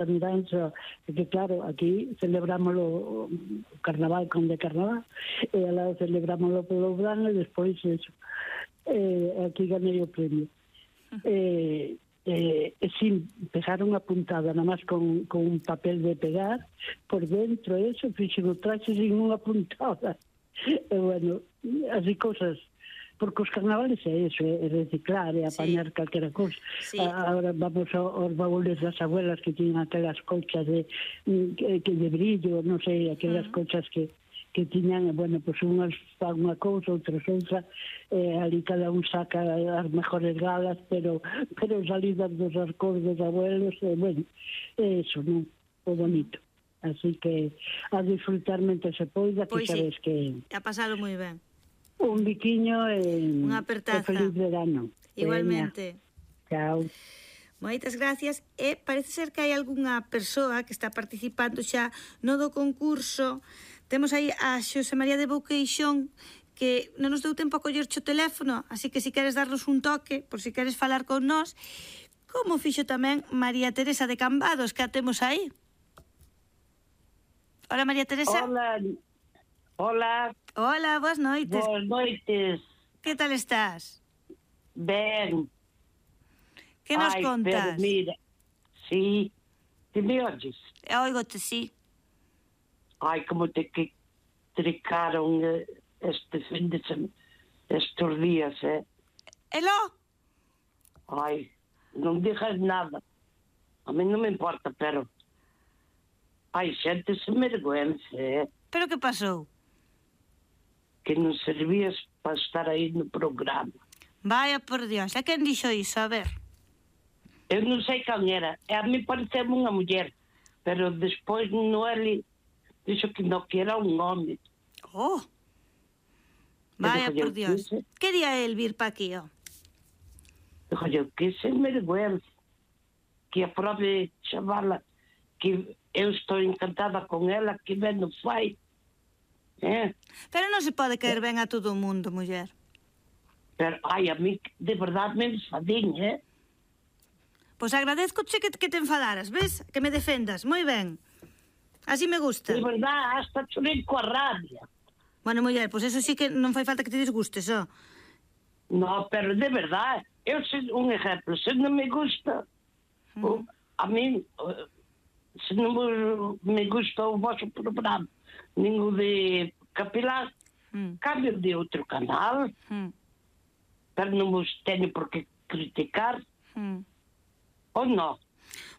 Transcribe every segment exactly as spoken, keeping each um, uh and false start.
miranza, que claro, aquí celebrámoslo o carnaval con de carnaval, e alá celebrámoslo polo verano e despois eso. Eh, aquí ganei o premio. Eh, eh, sí, pegaron a puntada nada máis con, con un papel de pegar por dentro, eso, fixen o traxe sin unha puntada. E bueno, así cosas. Porque os carnavales é eso, é reciclar, é apañar sí. calquera cousa. Sí. Agora vamos aos baúles das abuelas que tiñan aquelas colchas de, que, que de brillo, non sei, aquelas uh-huh. colchas que, que tiñan, bueno, pois pues unhas fan unha cousa, outras outra, eh, ali cada un saca as mejores galas, pero pero salidas dos arcos dos abuelos, eh, bueno, é eso, non? O bonito. Así que a disfrutar mentre se poida, que pues sabes sí. que... ha pasado moi ben. Un biquiño e unha apertaza. Feliz verano. Igualmente. Chao. Moitas gracias. E parece ser que hai algunha persoa que está participando xa no do concurso. Temos aí a Xosé María de Bouqueixón, que non nos deu tempo a collerche o teléfono, así que se queres darnos un toque, por si queres falar con nós, como fixo tamén María Teresa de Cambados, que a temos aí. Hola, María Teresa. Hola. Hola. Hola, boas noites. Boas noites. Que tal estás? Ben. Que nos Ai, contas? Pero mira, sí, te me oyes? Oigo-te, sí. Ai, como te que tricaron este fin de semana, estes días, eh? Elo? Ai, non digas nada. A mí non me importa, pero... Ai, xente se mergüenza, eh? Pero que pasou? Que non servías para estar aí no programa. Vaya por Dios, a quen dixo iso? A ver. Eu non sei quen era. E a mí pareceu unha muller. Pero despois Noeli dixo que non, que era un home. Oh! Vaya por Dios. Quería el vir pa aquí, ó. Dijo yo, que sen vergüenza. Que a propia chavala, que eu estou encantada con ela, que ben non fai. Eh? Pero non se pode caer ben a todo o mundo, muller. Pero, ai, a mí de verdade me enfadín, eh? Pois agradezcoche que, que te enfadaras, ves? Que me defendas, moi ben. Así me gusta. De verdade, hasta chorei coa rabia. Bueno, muller, pois eso sí que non fai falta que te disgustes, ó. No, pero de verdade, eu sei un exemplo, se non me gusta, mm. o, a mí, se non me gusta o vosso programa, ningún de Capilar, mm. cambio de outro canal, mm. pero non vos teño por que criticar, mm. ou non?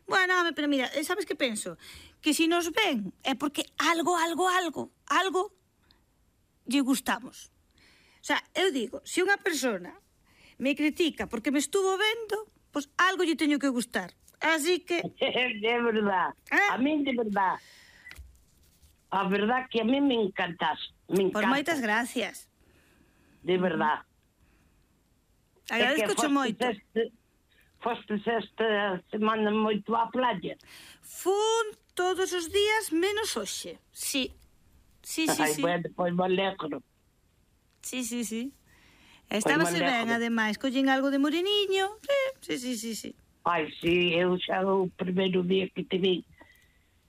Bueno, pero mira, sabes que penso? Que si nos ven é porque algo, algo, algo, algo lle gustamos. O sea, eu digo, se unha persona me critica porque me estuvo vendo, pois pues algo lle teño que gustar. Así que... De verdade, ¿Eh? A mí de verdade. A verdade que a mí me encantas. Me encanta. Por moitas gracias. De verdade. Agradezco moito. Este, fostes esta semana moito á playa? Fun todos os días menos hoxe. Sí. Sí, sí, Ai, sí. bueno, pois me alegro. Sí, sí, sí. Estábase ben, ademais. Collín algo de moreniño. Sí, sí, sí, sí. Ai, sí, eu xa o primeiro día que te vi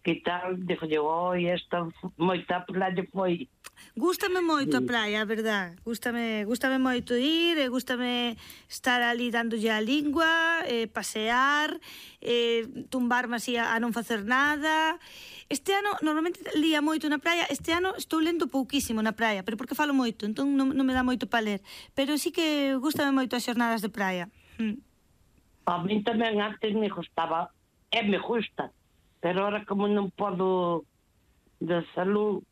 que tal, dixo eu, oi, esta moita playa foi. Gústame moito a praia, a verdad. Gústame, gústame moito ir, e gústame estar ali dándolle a lingua, eh, pasear, eh, tumbarme así a, a non facer nada. Este ano, normalmente lía moito na praia, este ano estou lendo pouquísimo na praia, pero porque falo moito, entón non, non me dá moito para ler. Pero sí que gústame moito as xornadas de praia. Hm. A mí tamén antes me gustaba, e me gusta, pero ahora como non podo de salud,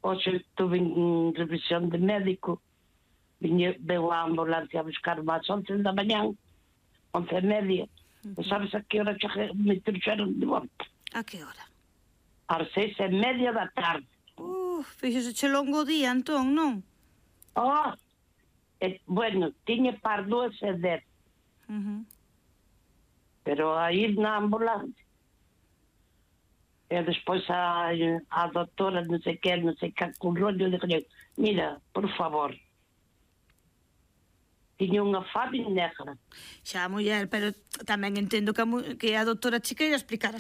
hoxe estuve en revisión de médico, viñe, veu a ambulancia a buscar máis once da mañán, once e media, uh-huh. E sabes a que hora me trouxeron de volta? A que hora? Ás seis e media da tarde. Uf, fíxese che longo día, entón, non? Oh, e, bueno, tiña par dúas e dez. Uh-huh. Pero a ir na ambulancia e despois a, a doctora non sei que, non sei que con rollo, dixo, mira, por favor, tiña unha fabi negra. Xa, muller, pero tamén entendo que a, mu- que a doutora che queira explicar as